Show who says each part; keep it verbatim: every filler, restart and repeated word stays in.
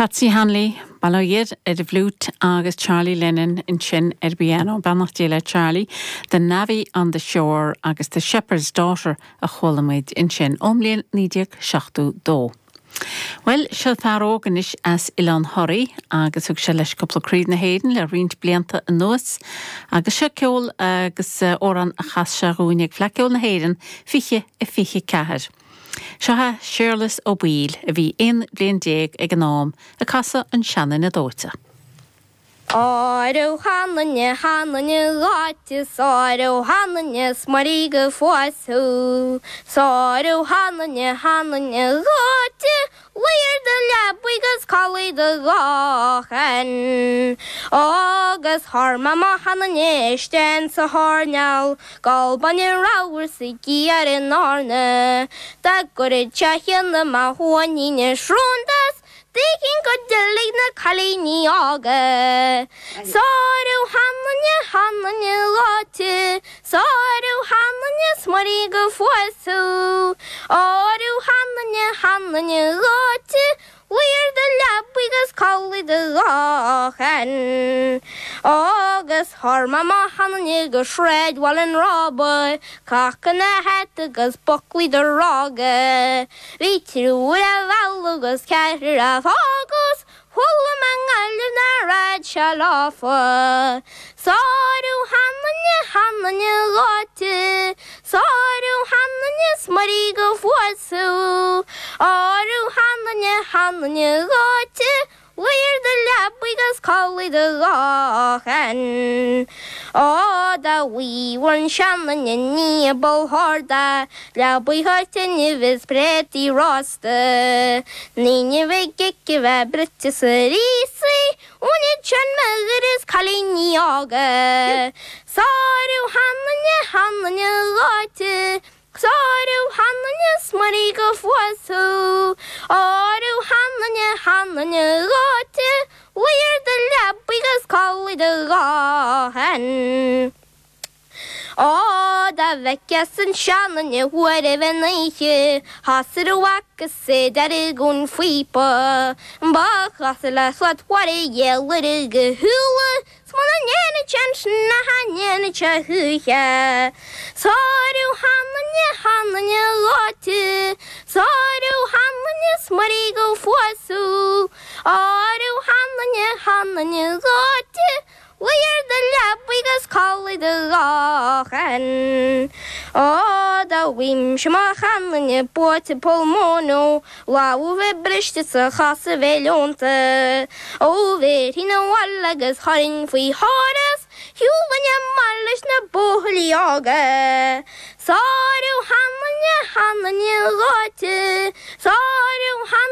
Speaker 1: Patsy Hanley, Baloiad ar an bhfliúit agus Charlie Lennon ansin ar piano beannacht Dé le Charlie, The Navvy on the Shore agus The Shepherd's Daughter a chuala muid ansin ón mbliain naoi déag seachtó dó. Well seo fear óg anois as Oileán Thoraí agus thug sé leis cúpla craobh na hÉireann le roinnt blianta anuas agus seo ceol agus amhrán a chas sé dhúinn ag Fleadh Cheoil na hÉireann fiche a fiche ceathair. Seo é Séarlas Ó Baoill a bhí aon bhliain déag ag an am ag casadh an seanduine dóite.
Speaker 2: Áireamh chananne chananne gáite sáireamh chananne smarí go fáú Sáireamh chananne chananne gáite Leir de lebuigus calaí de gáchen. Agus thar ma chananne sten sa háneal, Gal bain ráhar sa gíar in áne, Da go techeanna má huaníine srúndas, Dicín go dtig na cailíní óga. Sárú hananne hananne láte, Sárú hananne smarí go fuasú, Áú hananne hananne láte, Leir de lebuigus calaí de gáchen. Agus thar ma hananne go shred wall an rába, Cacan na het agus bucklaí de rága. Bhí triúr a mheall agus ceathrar a fhág 's chuala mé i nGaillimh nach raibh sé lofa. Sárú hananne hananne láte, Sárú hananne smarí go fuasú, Áú hananne hananne láte, Leir de lebuigus calaí de gáchen. Ó da bhí seananne ní bótharda, le buíthatin vis prétaí rosta. Níne bheith gice bheith brite sa rísaí, Úna sen me is cailíní óga. Sárú hananne hananne láte, Sárú hananne smarí go fuasú, Áú hananne hananne láte, Leir de lebuigus calaí de gáhen. Ó da bheiceas an seananne huair a bheith oíche, Hasar bhacas sé deir gon faoipa, Ba chas le slad chuir dhéalair go thuúla, Smna néna chen na hanéna te thuche. Sárú hananne hananne láte, Sárú hananne smarí go fuasú, Áú hananne hananne láte, Leir de lebuigus calaí de gáchen. Ó da bhím se má chananne buaite polmóno, Lá bheith briste sa chasa bheith leonta. Ó bhé hína bhil agus charin faoi háras, Hiúhanne mar leis na buachaillí óga. Sárú hananne hananne láte, Sárú hananne